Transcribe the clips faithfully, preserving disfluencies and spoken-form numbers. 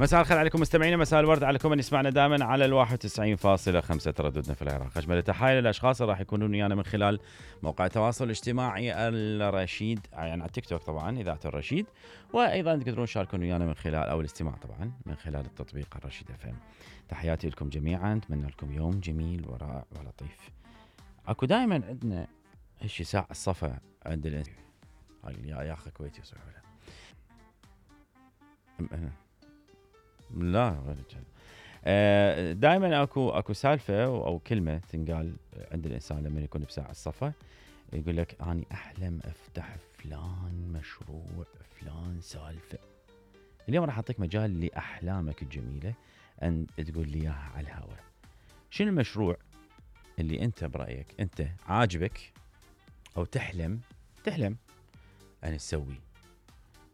مساء الخير عليكم مستمعينا، مساء الورد عليكم من يسمعنا دائما على الواحد وتسعين فاصلة خمسة ترددنا في العراق. أجمل التحايا للأشخاص اللي راح يكونون ويانا من خلال موقع التواصل الاجتماعي الرشيد، يعني على التيك توك طبعا إذاعة الرشيد، وأيضا تقدرون تشاركون ويانا من خلال أو الاستماع طبعا من خلال التطبيق الرشيد اف ام. تحياتي لكم جميعا، أتمنى لكم يوم جميل ورائع ولطيف. أكو دائما عندنا هالشي ساعة الصفا عند الإنسان. يا يا أخي كويتي يصيحوا له. لا غير كذا. دائما اكو اكو سالفه او كلمه تنقال عند الانسان لما يكون بساعه الصفا، يقول لك اني احلم افتح فلان مشروع فلان سالفه. اليوم راح اعطيك مجال لاحلامك الجميله ان تقول لي اياها على الهواء. شنو المشروع اللي انت برايك انت عاجبك او تحلم تحلم ان تسويه،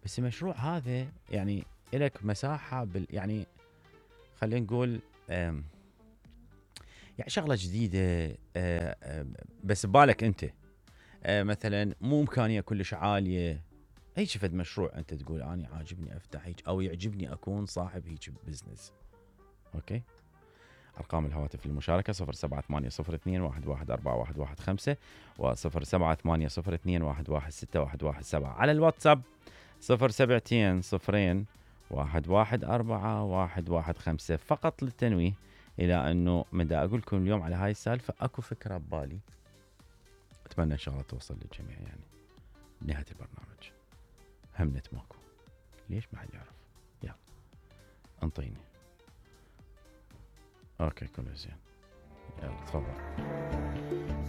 بس المشروع هذا يعني لك مساحة بال يعني خلينا نقول يعني شغلة جديدة بس ببالك أنت، مثلا مو إمكانية كلش عالية، أي شفت مشروع أنت تقول أنا عاجبني أفتح هيك أو يعجبني أكون صاحب هيك بزنس. أوكي، أرقام الهواتف للمشاركة صفر سبعة ثمانية صفر اثنين واحد واحد أربعة واحد واحد خمسة وصفر سبعة ثمانية صفر اثنين واحد واحد ستة واحد واحد سبعة. على الواتساب صفر سبعتين صفرين واحد واحد أربعة واحد واحد خمسة. فقط للتنويه إلى أنه من دا أقول لكم اليوم على هاي السالفة أكو فكرة ببالي، أتمنى إن شاء الله توصل للجميع. يعني نهاية البرنامج همنت ماكو، ليش ما حد يعرف؟ يلا انطيني. أوكي كله زين، يلا تفضل.